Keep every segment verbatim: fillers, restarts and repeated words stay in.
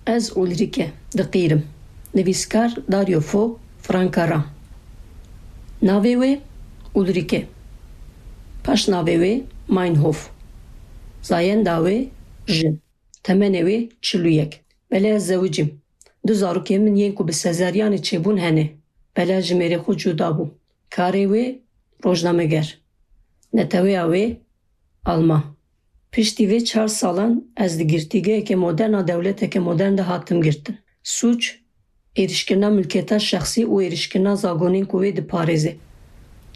Ez Ulrike, diqîrim. Nivîskar Dario Fo, Franka Ram. Navê wê Ulrike. Paşnavê wê Meinhof. Zayenda wê jin. Temenê wê çil û yek. Belê ez zewicîm. Du zarokên min yên ku bi sezeryanê çêbûn hene. Belê ez ji mêrê xwe cuda bûm. Karê wê rojnameger. Neteweyê wê Alman. Piştî vê çar salan ez di girtîgeheke modern a dewleteke modern de hatim girtin. Sûc, êrişkirina milkiyeta şexsî û êrişkirina zagonên ku wê diparêze.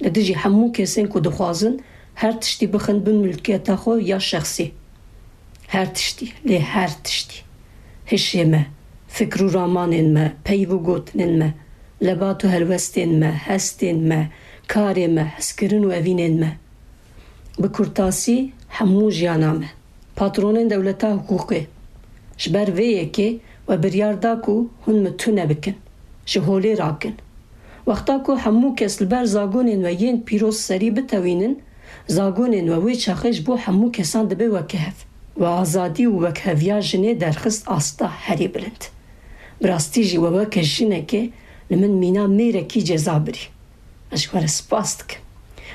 Li dijî hemû kesên ku dixwazin her tiştî bixin bin milkiyeta xwe ya şexsî. Her tiştî, lê her tiştî. Hişê me, fikr û ramanên me, peyv û gotinên me, lebat û helwestên me, hestên me, karê me, hezkirin û evînên me. Bi kurtasî, hemû jiyana me. Patronên dewleta hiqûqê. Ji ber vê yekê we biryar da ku hûn min tune bikin. Ji holê rakin. Wexta ku hemû kes li ber zagonên we yên pîroz serî bitewînin, zagonên we wê çaxê ji bo hemû kesan dibe weke hev. We azadî û wekheviya jinê derxist asta herî bilind. Bi rastî jî we weke jinekê li min mîna mêrekî ceza birî. Ez ji we re spas dikim.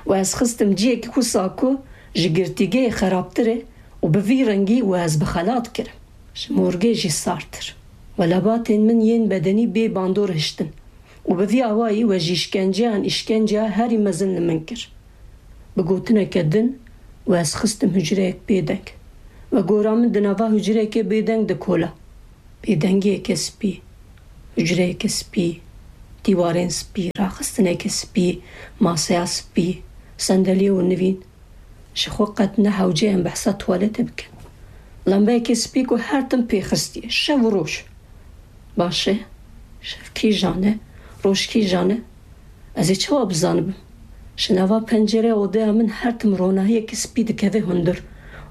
We ez xistim cihekî wisa ku ji girtîgehê xerabtir e û bi vî rengî we ez bi xelat kirim. Ji morgê jî sartir. We lebatên min yên bedenî bê bandor hiştin û bi vî awayî we ji îşkenceyan îşkenceya herî mezin li min kir. Bi gotineke din we ez xistim hucreyek bêdeng. We gora min di nava hucreyekê bêdeng dikola. Bêdengiyeke spî, hucreyeke spî, dîwarên spî, raxistineke spî, maseya spî, sendeliye û nivîn. Ji xwe qet ne hewce em behsa tuwaletê bikin. Lembeyeke spî ku her tim pê xistiye, şev û roj. Baş e, şev kîjan e, roj kîjan e? Ez ê çawa bizanibim? Ji nava pencereya odeya min her tim ronahiyeke spî dikeve hundir.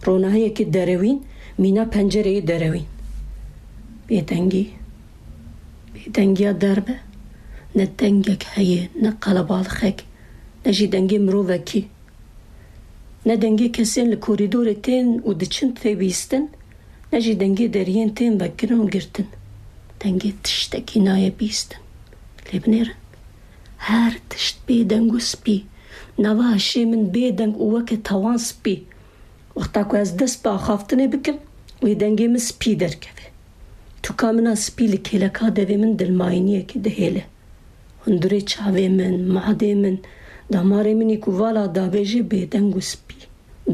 Ronahiyeke derewîn, mîna pencereyê derewîn. Bêdengî. Bêdengiya derve. Ne dengek heye, ne qelebalixek, ne jî dengê mirovekî. Ne dengê kesên li korîdorê tên û diçin tê bîstin, ne jî dengê deriyên tên vekirin û girtin. Dengê tiştekî nayê bîstin. Lê binêrin. Her tişt bêdeng û spî. Nava hişê min bêdeng û weke tawan spî. Wexta ku ez dest bi axaftinê bikim, wê dengê min spî derkeve. Tûka min a spî li kêleka devê min dilmayîniyekê dihêle. Hundirê çavê min, madê min, damarê min î ku vala dabêje bêdeng û spî.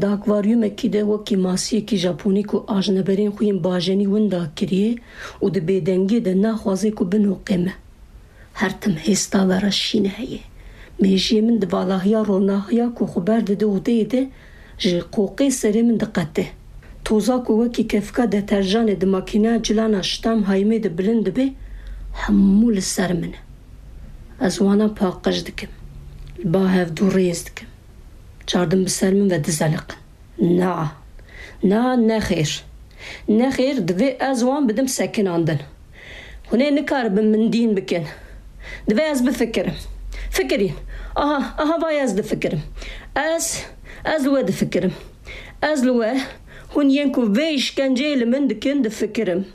Di akvaryumekî de wekî masiyekî japonî ku ajneberên xwe yên bajenî winda kiriye û di bêdengiyê de naxwaze ku binoqe me. Her tim hêsta vera şîne heye. Mêjiyê min di valahiya ronahiya ku xwe berdide odeyê de ji qoqê serê min diqete. Toza ku wekî kevka deterjanê di makîneya cilana ştam haymê de bilind dibe, hemû li ser min e. Ez wana paqij dikim. Li ba hevdû rêz dikim. Çardim bi ser min ve dizeliqin. Na. Na, nexêr. Nexêr, divê ez wan bidim sekinandin. Hûn ê nikaribin min dîn bikin. Divê ez bifikirim. Fikirîn. Aha, aha vay ez difikirim. Ez, ez li we difikirim. Ez li we, hûn yên ku vê îşkenceyê li min dikin difikirim.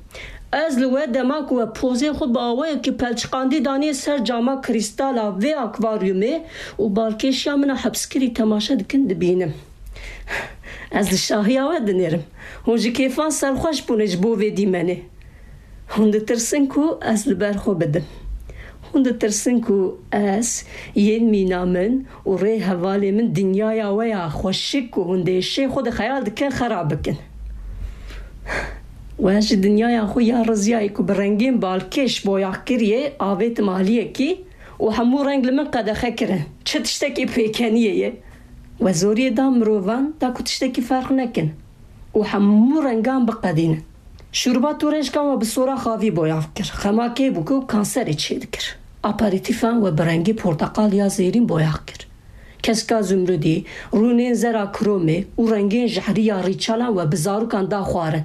Ez li we dema ku we pozê xwe bi awayekî pelçiqandî daniye ser cama krîstal a vê akvaryumê û balkêşiya min a hepskirî temaşe dikin dibînim. Ez li şahiya we dinêrim. Hûn ji kêfan serxweş bûne ji bo vê dîmenê. Hûn ditirsin ku ez li ber xwe bidim. Hûn ditirsin ku ez, yên mîna min û rê hevalê min dinyaya we ya xweşik ku hûn di êşê xwe de xeyal dikin xerab bikin. We ji dinyaya xwe ya riziyayê ku bi rengên balkêş boyax kiriye, avêtim aliyekî û hemû reng li min qedexe kirin. Çi tiştekî pêkeniyê ye? We zoriyê da mirovan, da ku tiştekî ferq nekin û hemû rengan biqedînin. Şûrba torêşkan we bi sora xavî boyax kir. Xema kê bû ku kanserê çêdikir. Aperitîfan we bi rengê porteqal ya zêrîn boyax kir. Keska zumrudî, rûnên zera kromê û rengên jehrî ya rîçalan we bi zarokan da xwarin.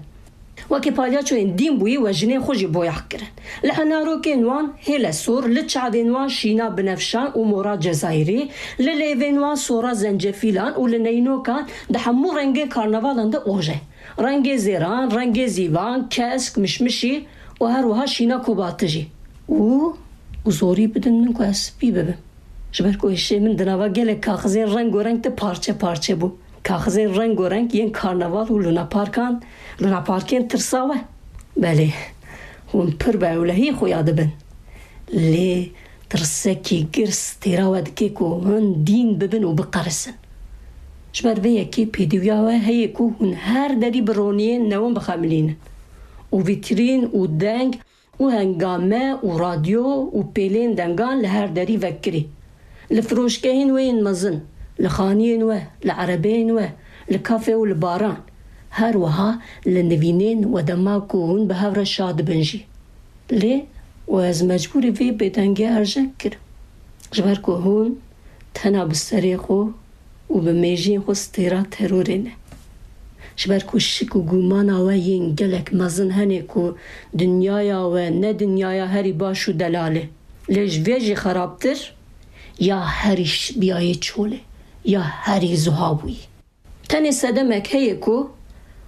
Wekî palyaçoyên dîn bûyî we jinên xwe jî boyax kirin. Li henarokên wan hêle sor, li çavên wan şîna binefşan û mora cezayirî, li lêvên wan sora zencefîlan û li neynokan di hemû rengên karnevalan de oje. Rengê zêran, rengê zîvan, kesk, mişmişî û her wiha şîna Kobatijî û, û zorî bidin min ku ez spî bibim. Ji ber ku hişê min di nava gelek kaxizên rengo reng de parçe parçe bû. Kaxizên rengo reng yên karnaval û lunaparkan, lunaparkên tirsawe. Belê, hûn pir bi ewlehî xuya dibin. Lê tirsekî girs têra we dike ku hûn dîn bibin û biqerisin. Ji ber vê yekê pêdiviya we heye ku hûn her derî bi roniyên newin bixemilînin û vîtrîn û deng û hengame û radyo û pêlên dengan li her derî vekirî. Li firoşgehên we yên mezin, li xaniyên we, li erebeyên we, li kafe û li baran. Her wiha li nivînên we dema ku hûn bi hev re şa dibin jî. Lê û ez mecbûrî vê bêdengê erjeng kirim. Ji ber ku hûn tena bi serê xwe û bi mêjiyên xwe stêra terorê ne. Ji ber ku şik û gumana we yên gelek mezin hene ku dinyaya we ne dinyaya herî baş û delal e. Lê ji vê jî xerabtir, ya herî şibiyayê çol e, ya herî zuha bûyî. Tenê sedemek heye ku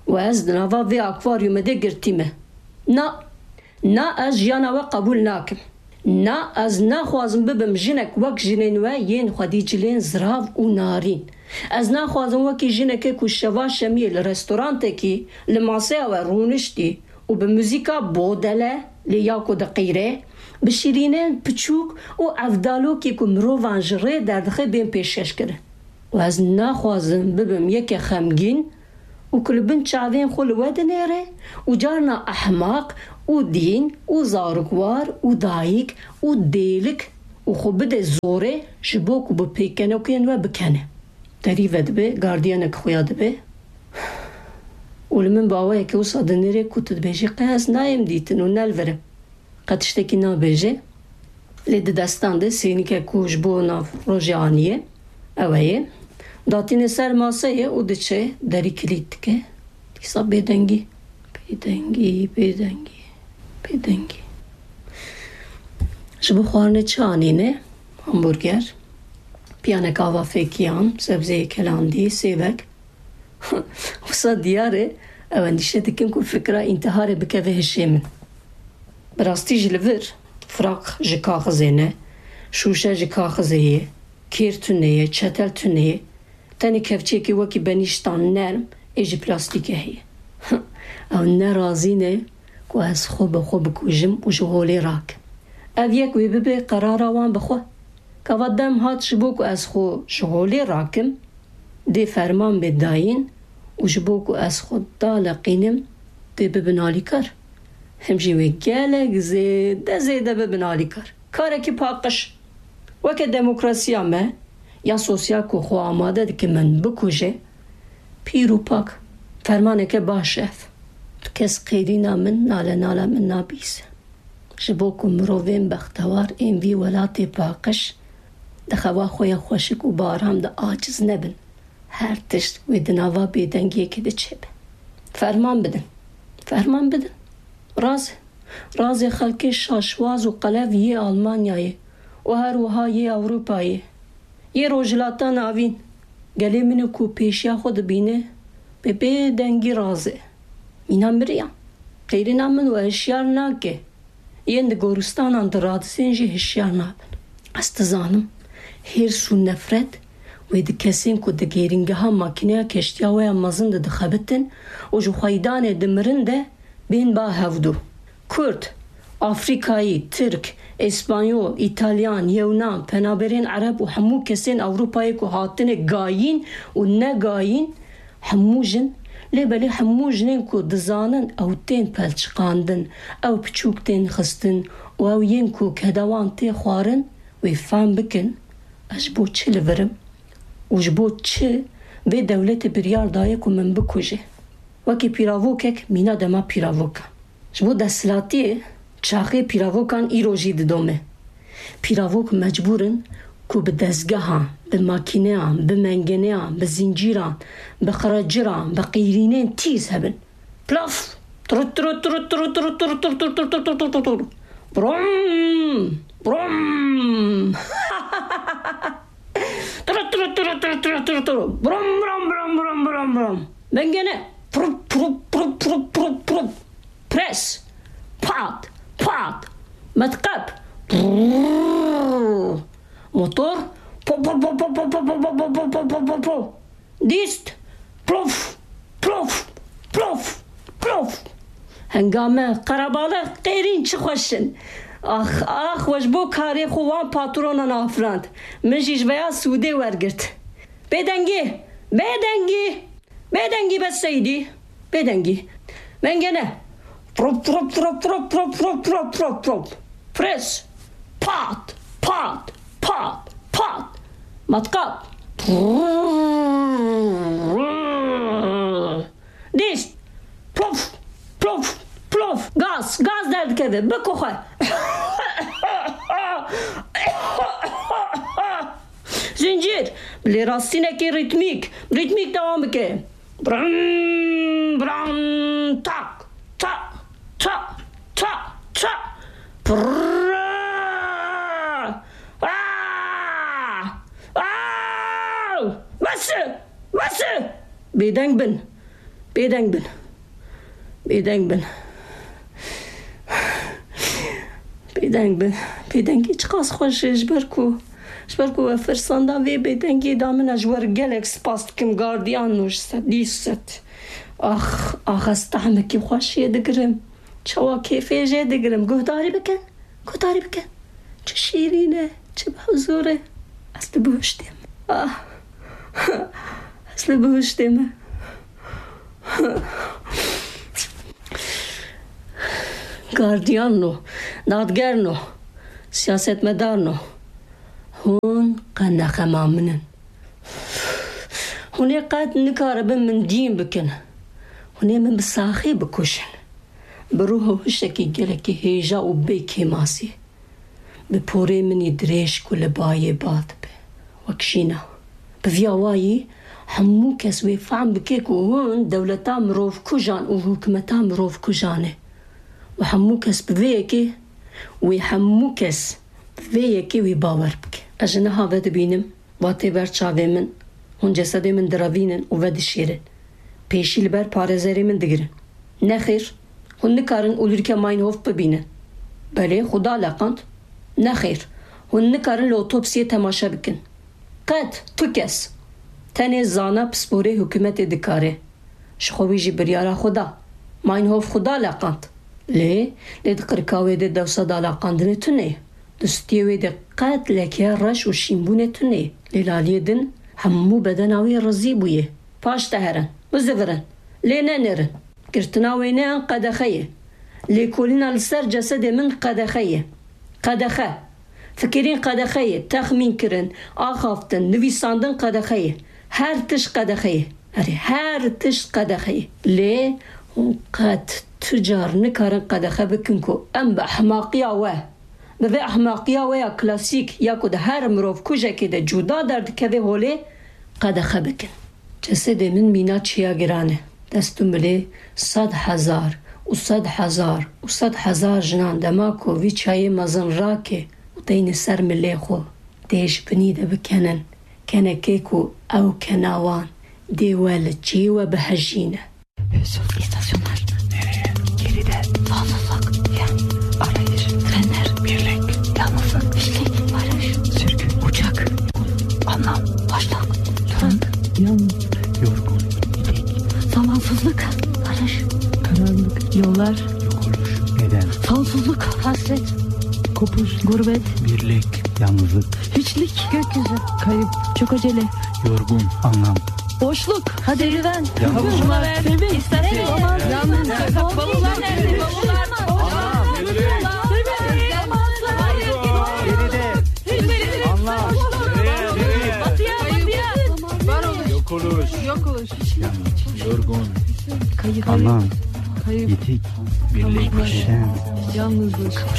we ez di nava vê akvaryumê de girtî me. Na, na ez jiyana we qebûl nakim. Na ez naxwazim bibim jinek wek jinên we yên xwedî cilên zirav û narîn. Ez naxwazim wekî jinekê ku şeva şemiyê li restorantekî li maseya we rûniştî û bi muzîka bodele lê ya ku diqîre, bi şîrînên piçûk û evdalokî ku mirovan ji rê derdixe bên pêşkeş kirin. Û ez naxwazim bibim yeke xemgîn û ku li bin çavên xwe li we dinêre û carna ehmaq û dîn û zarokwar û dayik û dêlik û xwe bide zorê ji bo ku bi pêkenokên we bikene. Derî vedibe, gardiyanek xuya dibe û li min bi awayekî wisa dinêre ku tu dibêjî qey ez nayêm dîtin û ne li vir im. Qet tiştekî nabêje. Lê di destan de sênikek ku ji bo nav rojê aniye, ew e yê. Datîne ser maseyê û diçe derî kilît dike. Dîsa bêdengî, bêdengî, bêdengî, bêdengî. Ji bo xwarinê çi anîne? Hamburger, piyanek ava fêkiyan, sebzeyê kelandî, sêvek. Wisa diyar e, ew endîşe dikin ku fikra întiharê bikeve hişê min. Bi rastî jî li vir firaq ji kaxizê ne, şûşe ji kaxizê ye, kêr tune ye, çetel tune ye. Tenê kevçiyekî wekî benîştan nerm ê ji plastîkê heye. Ew ne razî ne ku ez xwe bi xwe bikujim û ji holê rakim. Ev yek wê bibe qerara wan bi xwe. Gava dem hat ji bo ku ez xwe ji holê rakim, dê ferman bê dayîn û ji bo ku ez xwe daleqînim, dê bibin alîkar. Him jî wê gelek zêde zêde bibin alîkar. Karekî paqij. Weke demokrasiya me ya sosyal ku xwe amade dike min bikuje, pîr û pak. Fermaneke baş e ev. Tu kes qêrîna min, nale nala min nabîse. Ji bo ku mirovên bextewar ên vî welatê paqij di xewa xwe ya xweşik û bi aram de aciz nebin, her tişt wê di nava bêdengiyekê de çêbe. Ferman bidin. Ferman bidin. Razê. Razê xelkê şaşwaz û qelev yê Almanyayê û her wiha yê Ewropayê. Yê Rojhilata Navîn, gelê min û ku pêşiya xwe dibîne, bi bêdengî razê. Mîna miriyan. Qêrîna min we hişyar nake. Yên di goristanan diradizên jî hişyar nabin. Ez dizanim, hêrs û nefret wê di kesên ku di gêrîngeha makîneya keştiya we ya mezin de dixebitin û ji xweydanê dimirin de bên ba hevdû. Kurd, Afrîkayî, Tirk, Îspanyol, Îtalyan, Yewnan, penaberên Ereb û hemû kesên Ewropayê ku hatine gayîn û negayîn, hemû jin, lê belê hemû jinên ku dizanin ew tên pelçiqandin, ew piçûk tên xistin û ew yên ku keda wan tê xwarin, wê fehm bikin, ez ji bo çi li vir im û ji bo çi vê dewletê biryar daye ku min bikuje. Wekî pîravokek mîna dema pîravokan. Ji bo desthilatiyê çaxê pîravokan îro jî didome. Pîravok mecbûr in ku bi dezgehan, bi makîneyan, bi mengeneyan, bi zincîran, bi qireciran, bi qîrînên tîz hebin. Plaf! Turut, turut, turut, turut. Brum! Brum! Turut, turut, turut, turut, turut, turut, turut. Brum, brum, brum, brum, brum, brum. Mengene. Prup, prup, prup, prup, prup, prup. Pres. Pat. At. Metqep. Motor. Po, po, po. Dîst. Plof, plof, plof, plof. Hengame, qerebaliq, qêrîn çi xweş in. Ax, ax, we ji bo karê xwe wan patronan afirand. Min jî ji veya sûdê wergirt. Bêdengî, bêdengî, bêdengî be Seydî, bêdengî. Mengene. Trop, trop, trop, trop, trop, trop, trop, trop, trop. Pres. Pat, pat, pat, pat. Matkap. Dîst. Plof, plof, plof. Gaz, gaz derdikeve. Biko xwe. Zincîr. Bi lêrastînekî rîtmîk, rîtmîk dewam bike. Bram, bram, tak, tak, tak, tak, tak. Prrrr. Ah! Ah! Bes e! Bes e! Bêdeng bin. Bêdeng bin. Bêdeng bin. Bêdeng bin. Bêdengî çiqas xweş e, ji ber ku, ji ber ku we firsanda vê bêdengiyê da min e, ji we re gelek spas dikim, gardiyan û ji sedî sed. Ax, ax, ez tehmekî xweş jê digirim. Çawa kêfê jê digirim. Guhdarî bikin. Guhdarî bikin. Çi şîrîn e, çi bi huzûr e. Ez li bihuştê me. Ah. Ez li bihuştê me. Gardiyan no, dadger no, siyasetmedar no. Hûn qenexema min in. Hûn ê qet nikaribin min dîn bikin. Hûn ê min bi saxî bikuşin. Bi ruh û hişekî gelekî hêja û bê kêmasî. Bi porê min î dirêj ku li bayê ba dibe. Wek jîna. Bi vî awayî hemû kes wê fehm bike ku hûn dewleta mirovkujan û hikûmeta mirovkujan e. Û hemû kes bi vê yekê, wê hemû kes bi vê yekê wê bawer bike. Ez ji niha ve dibînim, va tê ber çavê min, hûn cesedê min direvînin û vedişêrin. Pêşî li ber parêzerê min digirin. Nexêr, hûn nikarin Ulrike Meinhof bibînin. Belê, xwe da leqand. Nexêr, hûn nikarin li otopsiyê temaşe bikin. Qet tu kes. Tenê zana pisporê hikûmetê dikare. Ji xwe wî jî biryara xwe da. Meinhof xwe da leqand. Lê, lê di qirika wê de dewsa daleqandinê tune ye. Di stûyê wê de qet lekeya reş û şînbûnê tune ye. Lê li aliyê din hemû bedena wê rizî bûye. Paş de herin, bizivirin. Lê nenêrin. Girtina wêneyan qedexe ye. Lêkolîna li ser cesedê min qedexe ye. Qedexe. Fikirîn qedexe ye, texmîn kirin, axaftin, nivîsandin qedexe ye. Her tişt qedexe ye. Erê, her tişt qedexe ye. Lê hûn qet tu car nikarin qedexe bikin ku em bi ehmaqiya we, bi vê ehmaqiya we ya klasîk ya ku di her mirovkujekê de cuda derdikeve holê, qedexe bikin. Cesedê min mîna çiya giran e. Dest û milê sed hezar û sed hezar û sed hezar jinan dema ku vî çiyayê mezin rake û deyne ser milê xwe, dê ji binî de bikenin. Kenekê ku ew kena wan, dê we li cihê we bihejîne. Hüzün. İstasyonlar. Nereye? Geride. Sonsuzluk. Fen. Arayış. Fener. Birlik. Yalnızlık. Hiçlik. Barış. Sürgün. Uçak. Anlam. Boşluk. Durum. Yalnız. Yorgun. Zamansızlık. Barış. Karanlık. Yollar. Yok oluş. Neden? Sonsuzluk. Hasret. Kopuş. Gurbet. Birlik. Yalnızlık. Hiçlik. Gökyüzü. Kayıp. Çok acele. Yorgun. Anlam. Boşluk. Serüven. Yalnızlık. Kavuşma. Sevinç. İstasyon. Yalnızlık. Bavullar nerede? Bavullar. Geride. Anlam. Batıya, batıya. Yok oluş. Yok oluş. Yorgun. Kayıp. Anlam. Kayıp. Yitik. Birlik. Kavuşma. Şen. Yalnızlık.